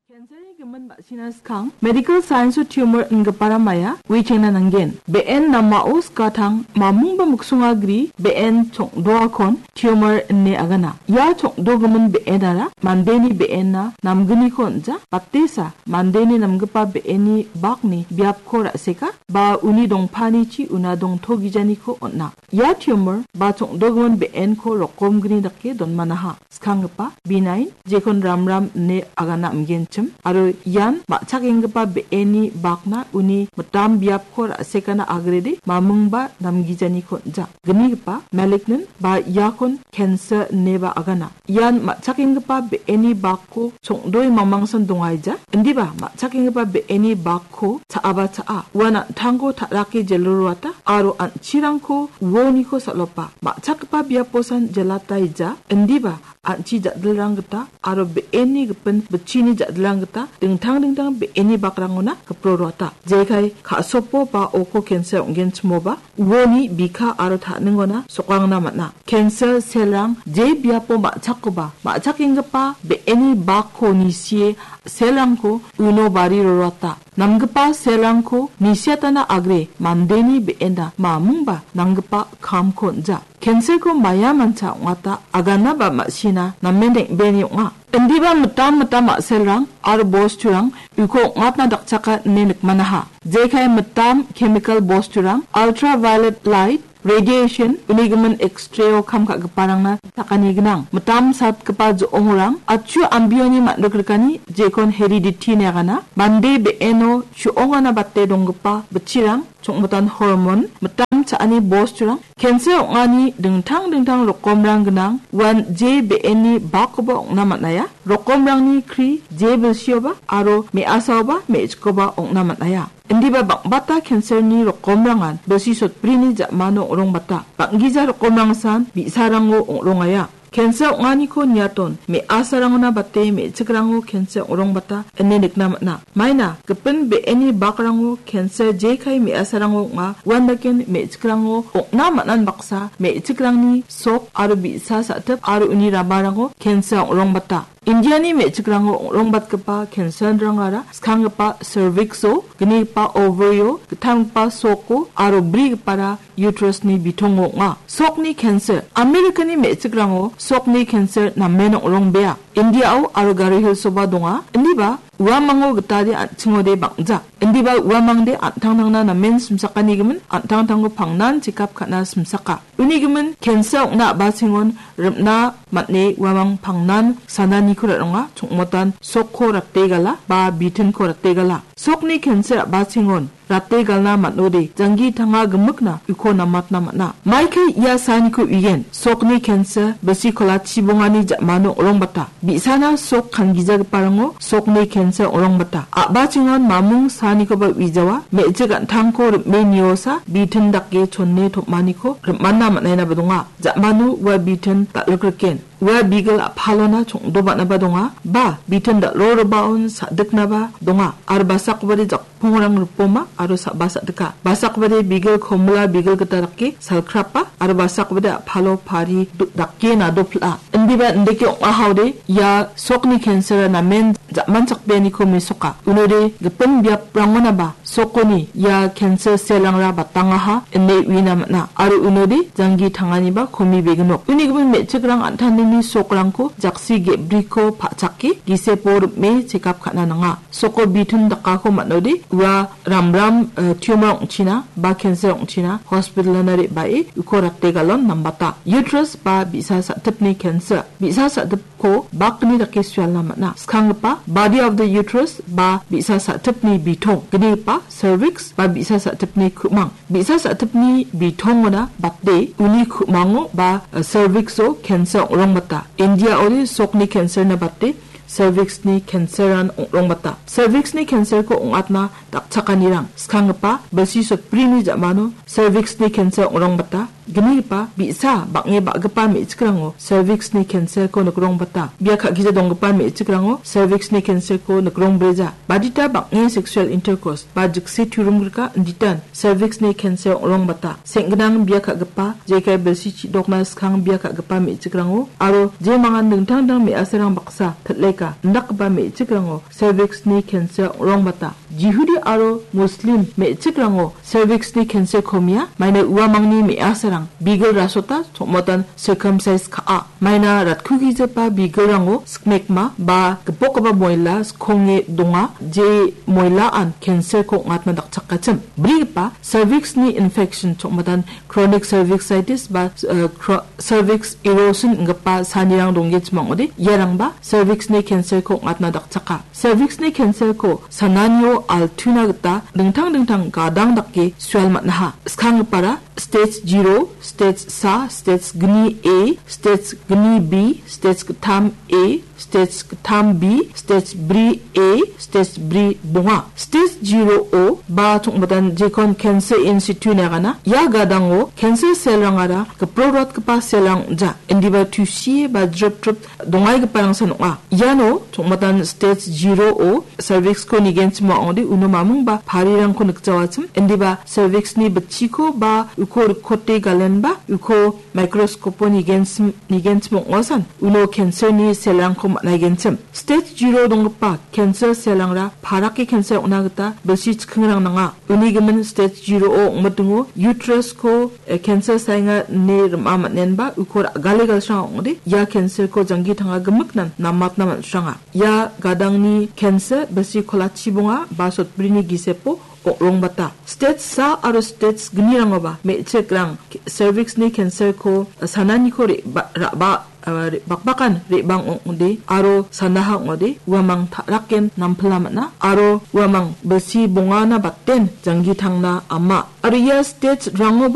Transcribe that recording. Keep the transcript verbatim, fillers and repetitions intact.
Cancer-ni gimin ma·sina skang medical science-o tumor ingipara maia uichengna nanggen. Be·en namao skatang mamungba miksonga gri be·en chongdoakon tumor ine agana. Ia chongdogimin be·enara mandeni be·enna namgniko on·ja, batesa mandeni namgipa be·eni bakni biapko ra·seka ba uni dongpanichi una dongtogijaniko on·a. Ia tumor ba chongdogimin be·enko rokomgni dake donmanaha. Skanggipa, benign, jekon ramram ine agana am·genchim, aro ian ma·chakenggipa be·eni bakna uni mitam biapko ra·sekana agrede mamingba namgijaniko on·ja. Gnigipa, malignant, ba iakon cancer ineba agana. Ian ma·chakenggipa be·eni bakko chongdoe mamangsan dongaija. Indiba ma·chakenggipa be·eni bakko cha·aba cha·a. Uan an·tangko ta·rake jelroata aro an·chirangko uoniko sal·opa. Ma·chakgipa biaposan jelataija. Indiba an·chi ja·dilrang gita aro be·eni gipin bitchini ja·dilrang gita dingtang dingtang be·eni bakrangona giproroata. Jekai ka·sopo ba oko cancer ong·genchimoba uoni bika aro ta·ningona sokangna man·a. Cancer cell-rang je biapo ma·chakkoba, ma·chakenggipa be·eni bakko nisie cell-rangko uno bari roroata. Namgipa cell-rangko nisiatana agre mandeni be·ena mamingba nanggipa kamko on·ja. Cancer-ko maia mancha ong·ata agana ba ma·sina namen deng·beni ong·a. Indiba mitam mitam ma·selrang aro bosturang uko ong·atna dakchaka ine nikmanaha. Jekai mitam chemical bosturang, ultraviolet light, radiation, unigimin X-ray-o kam ka·giparangna takani gnang. Mitam satgipa jo·ongrang, atchu ambioni man·rikrikani jekon heredity ine agana. Mande be·eno chu·ongana bate donggipa bitchirang, chongmotan hormon, mitam cha·ani bosturang, cancer ong·ani dingtang dingtang rokomrang gnang, uan je be·eni bakkoba ong·na man·aia. Rokomrangni kri je bilsioba aro me·asaoba me·chikoba ong·na man·aia. Indiba bang·bata cancer-ni rokomrangan bilsi sotbrini ja·mano ong·rongbata. Bang·gija rokomrangsan bi·sarango ong·rongaia. Cancer ong·aniko niaton, me·asarangona bate me·chikrango cancer ong·rongbata ine nikna man·a. Maina, gipin be·eni bakrango cancer jekai me·asarango ong·a, uandaken me·chikrango ong·na man·an baksa, me·chikrangni sok aro bi·sa sa·tip aro uni ramarango cancer ong·rongbata. Indiani me·chikrango ong·rongbatgipa cancer-rangara skanggipa cervix-o, gnigipa ovary-o, gittamgipa soko aro brigipara uterus-ni bitongo ong·a. Sokni cancer. Amerikani me·chikrango sokni cancer namen ong·rongbea. India-o aro Garo Hills-oba donga. Indiba uamango gitade an·chingode bang·ja. Indiba uamangde an·tangtangna namen simsakanigimin an·tangtangko pangnan chekap ka·na simsaka. Unigimin cancer ong·na a·bachengon rim·na man·e uamang pangnan sananiko ra·ronga, chongmotan sokko rate gala ba bitinko rate gala. Sokni cancer a·bachengon rate galna man·ode, janggi tanga gimikna uko namatna man·a. Maikai ia saaniko uigen, sokni cancer, bisikola chibongani ja·mano ong·rongbata. Bi·sana sok kangijagiparango sokni cancer ong·rongbata. A·bachengon mamung saanikoba uijawa, me·chik an·tangko rim·e niosa, bitin dake chone tom·aniko rim·ana man·ainaba donga. Ja·mano ua bitin dal·rikriken. Ua bigil a·palona chongdoba·naba donga, ba bitin dal·roribaon sa·diknaba donga, aro basakobade jak-, pongrang ripoma aro sa-, ba sa·dika. Basakobade bigil komila bigil gita dake salkrapa aro basakobade a·palo pari do-, dake nadopil·a. Indiba indake ong·ahaode ia sokni cancer-a namen ja·manchakbeaniko mesoka. Unode gipin biaprangonaba sokoni ia cancer cell-rangra batangaha ine uina man·a. Aro unode janggi tanganiba komi beginok. Uni gimin me·chikrang an·tangtangni sokrangko jaksi ge·briko pa·chake gisepo rim·e chekap ka·na nanga. Soko bitin dakako man·ode ua ramram, eh, tumor ong·china ba cancer ong·china hospital-ona re·bae uko rate galon nambata. Uterus ba bi·sa sa·tipni cancer. Bi·sa sa·tipko bakni dake sualna man·a. Skanggipa body of the uterus ba bi·sa sa·tipni bitong. Gnigipa cervix ba bi·sa sa·tipni ku·mang. Bi·sa sa·tipni bitongona bate uni ku·mango ba, eh, cervix-o cancer ong·rongbata. India-ode sokni cancer-na bate cervix-ni cancer-an ong·rongbata. Cervix-ni cancer-ko ong·atna dakchakanirang skanggipa bilsi sotbrini ja·mano cervix-ni cancer ong·rongbata. Gnigipa bi·sa bang·e ba·gipa me·chikrango cervix-ni cancer-ko nikrongbata. Bia ka·gija donggipa me·chikrango cervix-ni cancer-ko nikrongbreja. Badita bang·e sexual intercourse ba jikse turumgrika inditan cervix-ni cancer ong·rongbata. Seng·gnang bia ka·gipa, jekai bilsi chi·dokna skang bia ka·gipa me·chikrango aro jemangan dingtang dingtang me·asarang baksa pil·eka indakgipa me·chikrango cervix-ni cancer ong·rongbata. Jihudi aro Muslim me·chikrango cervix-ni cancer-ko mia, maina uamangni me·asarang bigil rasota, chongmatan circumcise ka·a. Maina ratkugijipa bigilrango sikmekma ba gipokgipa moila skonge donga, je moilaan cancer-ko ong·atna dakchakachim. Brigipa cervix-ni infection, chongmatan chronic cervicitis ba, eh, chro-, cervix erosion inggipa sanirang donggenchim ong·ode, iarangba cervix-ni cancer-ko ong·atna dakchaka. Cervix-ni cancer-ko sananio altuna gita dingtang dingtang gadang dake sual man·aha. Skanggipara stage zero, stage sa, stage gni A, stage gni B, stage gittam A, stage gittam B, stage bri A, stage bri bonga. Stage zero-o ba chongmatan jekon cancer in situ ine agana. Ia gadango cancer cell-rangara giproratgipa cell-rang ong·ja. Indiba tusie ba drip drip dongaigiparangsan ong·a. Iano chongmatan stage zero-o cervix-ko nigenchim ong·ode uno mamung ba parirangko nikjawachim. Indiba cervix-ni bitchiko ba uko rikote galenba uko microscope-o nigenchim, nigenchim ong·asan uno cancer-ni cell-rangko man·aigenchim. Stage zero donggipa cancer cell-rangra parake cancer ong·na gita bilsi chikingrang nanga. Uni gimin stage zero-o ong·mitingo uterus-ko, eh, cancer saenga ine rim·a man·enba uko ra·gale galsrang ong·ode ia cancer-ko janggi tanga gimiknan namatna man·sranga. Ia gadangni cancer bilsi kolachi bonga ba sotbrini gisepo ong·rongbata. Stage sa aro stage gnirangoba me·chikrang cervix-ni cancer-ko sananiko re-, ba-, ra-, ba-, ah, re-, bakbakan re·bang ong·ode aro sanaha ong·ode uamang ta·raken nampila man·a aro uamang bilsi bongana baten janggi tangna ama. Aro ia stage-rangoba